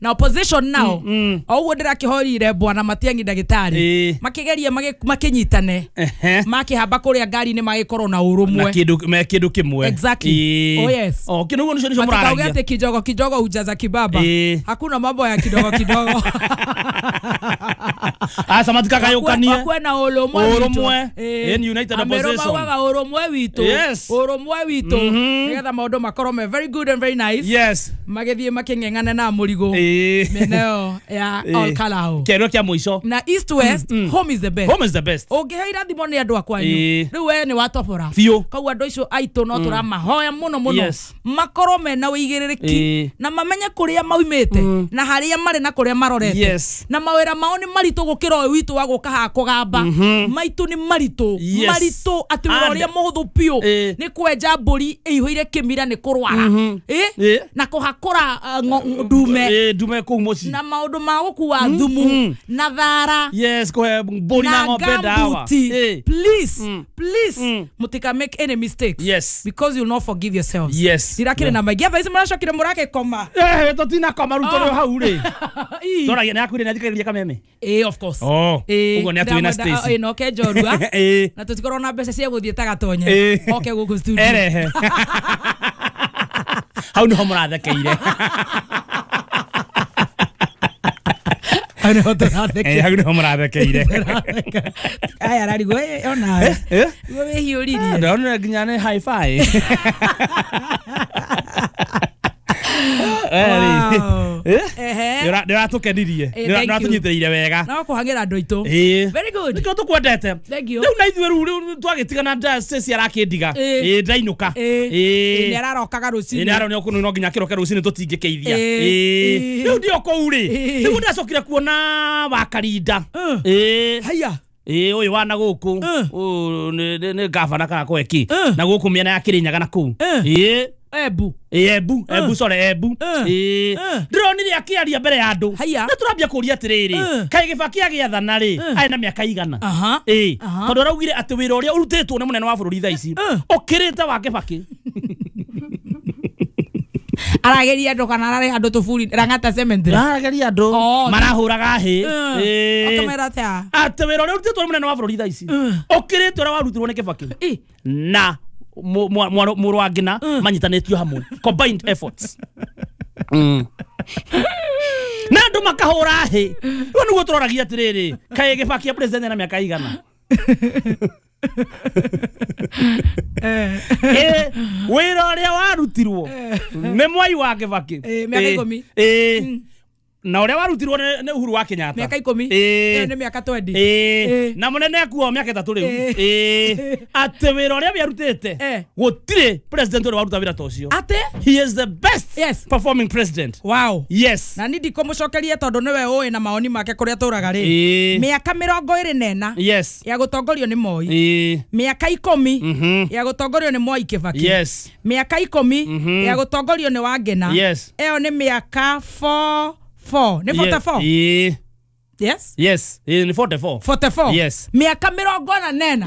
Na opposition nao o ũguo ndĩrakĩhorire bwana Matiang'i ndagĩtarĩ makigeria makinyitane, makihamba kuria ngari-inĩ magĩkorwo na na ũrũmwe. Kindu me kindu kimwe. Exactly. Oh, yes. Oh, kindu nicio nicio matikauge muraragia. Ati kidogo kidogo hujaza kibaba. Hakuna mambo ya kidogo kidogo. Asa matikagayukanie. Wakuwe na ũrũmwe witũ. Ũrũmwe. In united Amerũ opposition. maugaga ũrũmwe witũ. Ũrũmwe witũ, nĩgetha maũndũ makorwo me very good and very nice, magĩthiĩ makĩng'eng'ana na mũrigo mĩena ĩyo ya Ol Kalou. Kĩero kĩa mũico. Na east, west, home is the best. Home is the best. Ũngĩhe irathimo nĩ andũ a kwanyu, rĩu we nĩ watobora. Biũ. Koguo andũ acio aitũ no tũramahoya mũno mũno makorwo mena ũigĩrĩrĩki na mamenye kũrĩa maumĩte na harĩa marĩ na kũrĩa marorete, na mawĩra mao nĩ maritũ gũkĩra ũyũ witũ wa gũka haha kũgamba. Maitũ nĩ maritũ, maritũ atĩ wĩra ũrĩa mũhũthũ biũ nĩ kwenja mbũri ĩihũire kĩmira nĩ kũrwara. Na kũhakũra ndume. Ndume kũu mũciĩ. Na maũndũ ma gũkua thumu na thara Yes, kũhe mbũri na ng'ombe ndawa. Gambuti. Please, please, mutika make any mistakes because you'll not forgive yourselves. Ndirakĩrĩ na maingĩ thaa ici mũracokire mũragĩkoma. Tũtinakoma rĩu tũrĩ hau rĩ. Tũragia nĩ akwire nĩ athikagĩrĩria kameme. Of course. Oh, ũguo nĩ atũĩ na Stacy. No ke njorua na tũtikorwo na mbeca cia gũthiĩ ta gatonye oke gũkũ studio. Erehe. Hau nĩho mũrathekeire. Hau nĩho tũrathekeire. Hau nĩho mũrathekeire. Aya ararigwo onawe guo wĩhiũririe. Ndonire nginya nĩ hi-fi. Wow. Ehe. Nĩ ũratũkenirie. Thank Nĩ you. ũratũnyitĩrĩire wega. No kũhang'ĩra andũ aitũ. Very good. Nĩkĩo tũkwendete. Thank you. Rĩu na ithuĩ rĩu twagĩtigana Stacy arakĩndiga. Ndainũka. Nĩ ararokaga rũcinĩ. Nĩ aronio kũu no nginya kĩroke rũcinĩ tũtingĩkĩithia. Rĩu ndio kũu rĩ. Rĩu ndacokire kuona Wakarinda. Haya. Ũyũ wa na gũkũ. Ũyũ nĩ gavana kana kweki. Na gũkũ mĩena ya Kĩrĩnyaga na kũu. Embu. Embu, Embu, sorry, Embu. Ndĩronire akĩaria mbere ya andũ. Haya. Na tũrambia kũria atĩrĩrĩ, kaĩ Gĩbaki agĩathana rĩ, arĩ na mĩaka igana? Tondũ araugire atĩ wĩra ũrĩa ũrutĩtwo nĩ mũnene wa bũrũri thaa ici ũkĩrĩte wa Kĩbaki. Arageria andũ kana ararĩha andũ tũburi Lang'ata Cemetery? Arageria andũ Oh, marahũraga hĩ. Akamera atĩa? Atĩ wĩra ũrĩa ũrutĩtwo nĩ mũnene wa bũrũri thaa ici ũkĩrĩte ũrĩa warutirwo nĩ Kĩbaki na mũrũ wa Ngina manyitanĩtio hamwe, combined efforts, na andũ makahũra hĩ. Rĩu nĩguo tũroragia atĩrĩrĩ, kaĩ Gĩbaki president na mĩaka igana? Wĩra ũrĩa warutirwo nĩ Mwai wa Kĩbaki Mĩaka 10. Na ũrĩa warutirwo nĩ Uhuru wa Kenyatta Mĩaka 10. Ĩyo nĩ mĩaka 20. Na mũnene akuo mĩaka 3 rĩu. Atĩ wĩra ũrĩa wĩarutĩte, gũtirĩ president ũrĩa waruta wĩra ta ũcio. Atĩ He is the best performing president. Yes. Na ni ndikũmũcokeria tondũ nĩwe ũĩ na maoni make kũrĩa tũraga rĩ. Mĩaka 24 ya gũtongorio nĩ Moi, mĩaka 10 ya gũtongorio nĩ Mwai Kĩbaki, mĩaka 10 ya gũtongorio nĩ Wangena, ĩyo nĩ mĩaka 4 4 nĩ 44. Yes. Yes, nĩ 44. 44. Yes. Mĩaka 44.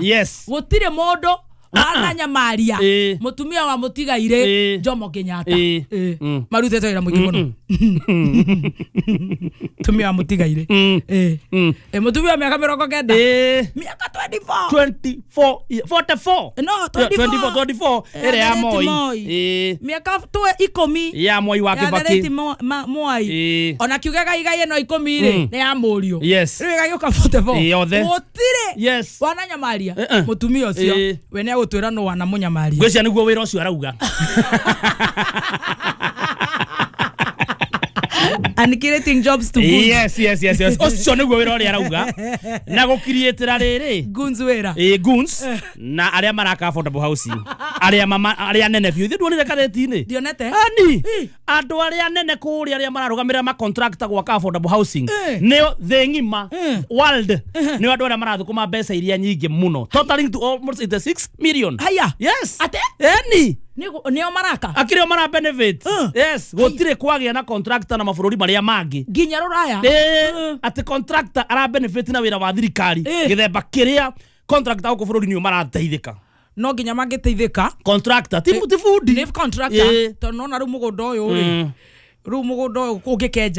Gũtirĩ mũndũ wananyamaria mũtumia wa mũtigairĩ Jomo Kenyatta. Marutĩte wĩra mũingĩ mũno mũtumia wa mũtigairĩ. Mũtumia wa mĩaka 90, mĩaka 24. 24, 44. No, 24. 24, 24 ĩrĩa ya the late Moi. Moi. Mĩaka twe 10 Ya Moi wa ya the Kĩbaki. late Moi. Ona kiuga gaigai ĩno 10 rĩ nĩ ya mũriũ. Rĩu ĩgagĩũka 44. Yothe. Gũtirĩ wananyamaria mũtumia ũcio. We nĩ agũtwĩra nũ wanamũnyamaria. Ngwĩciria nĩguo wĩra ũcio arauga. And creating jobs to goons. Yes, ũcio nĩguo wĩra ũrĩa arauga na gũkiriĩtĩra rĩrĩ. Goons wĩra. Goons na arĩa maraka affordable housing, arĩa mama arĩa nene biũ. Ithuĩ nduonire katheti-inĩ? Ndionete. Ani andũ arĩa nene kũrĩa arĩa mararũgamĩrĩra ma contractor gwaka affordable housing nĩo thĩ ng'ima, world, nĩo andũ arĩa marathũkũma mbeca iria nyingĩ mũno, totaling to almost 86 million. Haya. Yes. Ate? Eni. Nĩo maraka. Akĩrĩ o mara benefit. Yes, gũtirĩ kwagĩa na contractor na mabũrũri marĩa mangĩ Nginya rũraya. Atĩ contractor ara benefit na wĩra wa thirikari gĩthemba kĩrĩa contractor gũkũ bũrũri nĩo marateithĩka. No nginya mangĩteithĩka. Contractor ti bundi. Nĩ contractor, tondũ nona rĩu mũgũnda ũyũ rĩ, rĩu mũgũnda ũyũ ũngĩkenja.